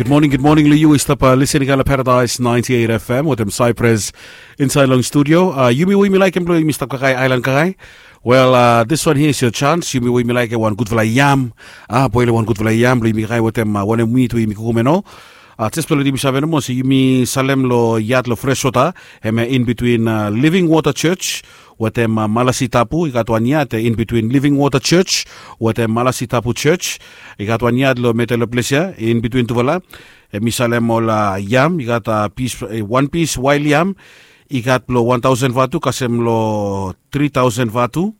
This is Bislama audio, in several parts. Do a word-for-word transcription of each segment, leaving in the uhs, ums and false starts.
Gud moning, gud moning long yu we i stap lisin i kam long Paradise ninety eight F M wetem Cyprus insait long studio. Yumi we yumi laikim blong yumi stap kakae, aelan kakae. Wel, this one here is your chance. Yumi we yumi laikim wan gudfala yam, a boel wan gudfala yam blong yumi kakae wetem wanem mit we yumi kukum ya nao. Jes blong letim yumi save nomo se yumi salem long yat long Freshwater, hemia in between Living Water Church wetem Malasi Tapu. I gat wan yat in between Living Water Church wetem Malasi Tapu Church. I gat wan yat long medel long ples ya in between tufala. Hemi salem ol yam, i gat pis, wan pis wael yam i gat blong wan taosen vatu kasem long tri taosen vatu.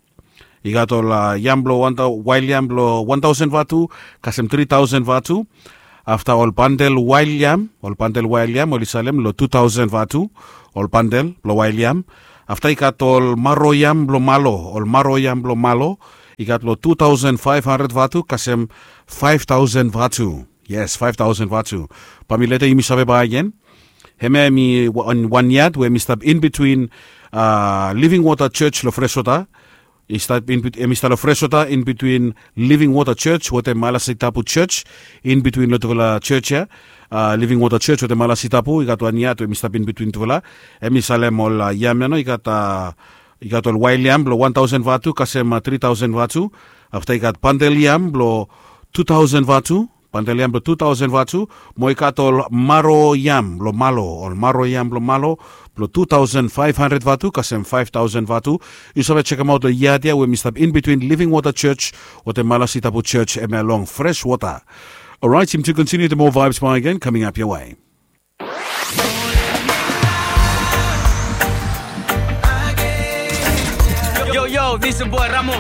I gat ol yam blong wan, wael yam blong wan taosen vatu kasem tri taosen vatu. Afta ol bandel wael yam, ol bandel wael yam oli salem long tu taosen vatu, ol bandel blong wael yam. Afta i gat ol maro yam blong malo, ol maro yam blong malo i gat long tu taosen faef handred vatu kasem faef taosen vatu. Yes, faef taosen vatu. Bae mi letem yumi save bae gen. Hemia hemi wan yat we hemi stap in between Living Water Church long Freshwater. Hemi stap long Freshwater in between Living Water Church wetem Malasi Tapu Church. In between long tufala church ya, Living Water Church wetem Malasi Tapu, i gat wan yat we hemi stap in between tufala. Hemi salem ol yam ya nao, i gat i gat ol wael yam blong wan taosen vatu kasem tri taosen vatu. Afta i gat bandel yam blong tu taosen vatu, bandel yam blong tu taosen vatu. Mo i gat ol maro yam blong malo, ol maro yam blong malo blong tu taosen faef handred vatu kasem faef taosen vatu. Yu save sekemaot long yat ya we hemi stap in between Living Water Church wetem Malasi Tapu Church, hemia long Freshwater. Orait, yumi tu kontiniu wetem moa vibes bae gen kaming ap ya we. Yo, yo, this is boy Ramo.